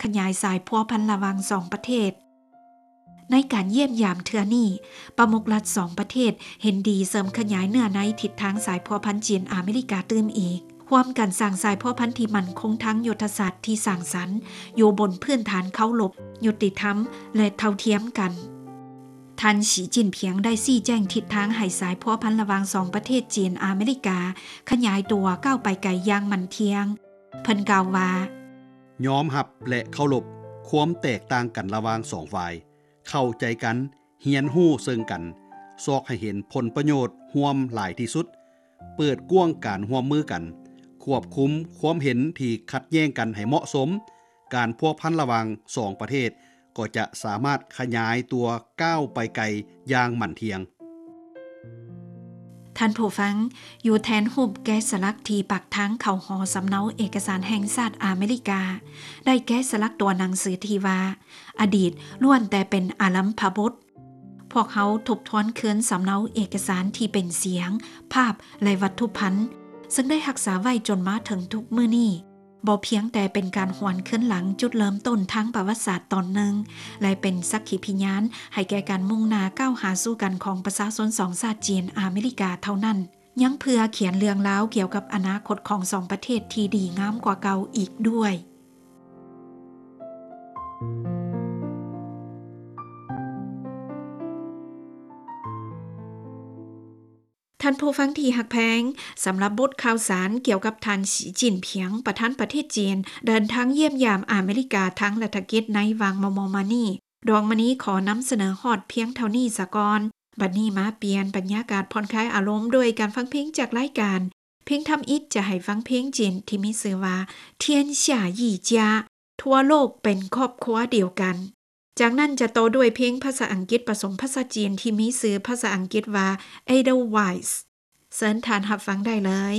ຂະຫຍາຍສາຍພົວພັນລະຫວ່າງສອງປະເທດ. ໃນການຢ້ຽມຢາມເທື່ອນີ້, ປະມຸກລັດສອງປະເທດເຫັນດີເສີມຂະຫຍາຍເນື້ອໃນທິດທາງສາຍພົວພັນຈີນອາເມລິກາຕື່ມອີກ, ຮ່ວມກັນສ້າງສາຍພົວພັນທີ່ໝັ້ນຄົງທາງຍຸດທະສາດທີ່ສ້າງສັນ, ຢູ່ບົນພື້ນຖານເຄົາລົບ, ຍຸຕິທຳ ແລະ ເທົ່າທຽມກັນ. ທ່ານ ສີ ຈິ້ນຜິງ ໄດ້ຊີ້ແຈງທິດທາງໃຫ້ສາຍພົວພັນລະຫວ່າງສອງປະເທດຈີນອາເມລິກາຂະຫຍາຍຕົວກ້າວໄປໄກຢ່າງໝັ້ນທ່ຽງ. ເພິ່ນກ່າວວ່າ, ຍອມຮັບ ແລະ ເຄົາລົບຄວາມແຕກຕ່າງກັນລະຫວ່າງສອງຝ່າຍ, ເຂົ້າໃຈກັນ, ຮຽນຮູ້ເຊິ່ງກັນ, ຊອກໃຫ້ເຫັນຜົນປະໂຫຍດຮ່ວມຫຼາຍທີ່ສຸດ, ເປີດກວ້າງການຮ່ວມມືກັນ, ຄວບຄຸມຄວາມເຫັນທີ່ຂັດແຍ້ງກັນໃຫ້ເໝາະສົມ, ການພົວພັນລະຫວ່າງສອງປະເທດກໍຈະສາມາດຂະຫຍາຍຕົວກ້າວໄປໄກຢ່າງໝັ້ນທ່ຽງ. ທ່ານຜູ້ຟັງ, ຢູ່ແທນຮູບແກະສະຫຼັກທີ່ປາກທາງເຂົ້າຫໍສຳເນົາເອກະສານແຫ່ງຊາດອາເມລິກາ, ໄດ້ແກະສະຫຼັກຕົວໜັງສືທີ່ວ່າ ອະດີດລ້ວນແຕ່ເປັນອາລັມພະບົດ. ພວກເຮົາທົບທວນຄືນສຳເນົາເອກະສານທີ່ເປັນສຽງ, ພາບ ແລະ ວັດຖຸພັນ, ເຊິ່ງໄດ້ຮັກສາໄວ້ຈົນມາເຖິງທຸກມື້ນີ້. ບໍ່ພຽງແຕ່ເປັນການຫວນຄືນຫຼັງຈຸດເລີ່ມຕົ້ນທາງປະຫວັດສາດຕອນໜຶ່ງ ແລະ ເປັນສັກຂີພິຍານໃຫ້ແກ່ການມຸ່ງໜ້າກ້າວຫາສູ່ກັນຂອງປະຊາຊົນສອງຊາດຈີນອາເມລິກາເທົ່ານັ້ນ, ຍັງເພື່ອຂຽນເລື່ອງລາວກ່ຽວກັບອະນາຄົດຂອງສອງປະເທດທີ່ດີງາມກວ່າເກົ່າອີກດ້ວຍ. ທ່ານຜູ້ຟັງທີ່ຮັກແພງ, ສຳລັບບົດຂ່າວສານກ່ຽວກັບທ່ານ ສີ ຈິ້ນຜິງ ປະທານປະເທດຈີນ ເດີນທາງຢ້ຽມຢາມອາເມລິກາທາງລັດຖະກິດໃນຫວ່າງມໍ່ໆມານີ້, ດວງມະນີຂໍນຳສະເໜີຮອດພຽງເທົ່ານີ້ສາກ່ອນ. ບັດນີ້ມາປ່ຽນບັນຍາກາດຜ່ອນຄາຍອາລົມດ້ວຍການຟັງເພງຈາກລາຍການ. ເພງທຳອິດຈະໃຫ້ຟັງເພງຈີນທີ່ມີຊື່ວ່າ 天下一家 ທົ່ວໂລກເປັນຄອບຄົວດຽວກັນ. ຈາກນັ້ນຈະຕໍ່ດ້ວຍເພງພາສາອັງກິດປະສົມພາສາຈີນທີ່ມີຊື່ພາສາອັງກິດວ່າ Edelweiss. ເຊີນທ່ານຮັບຟັງໄດ້ເລີຍ.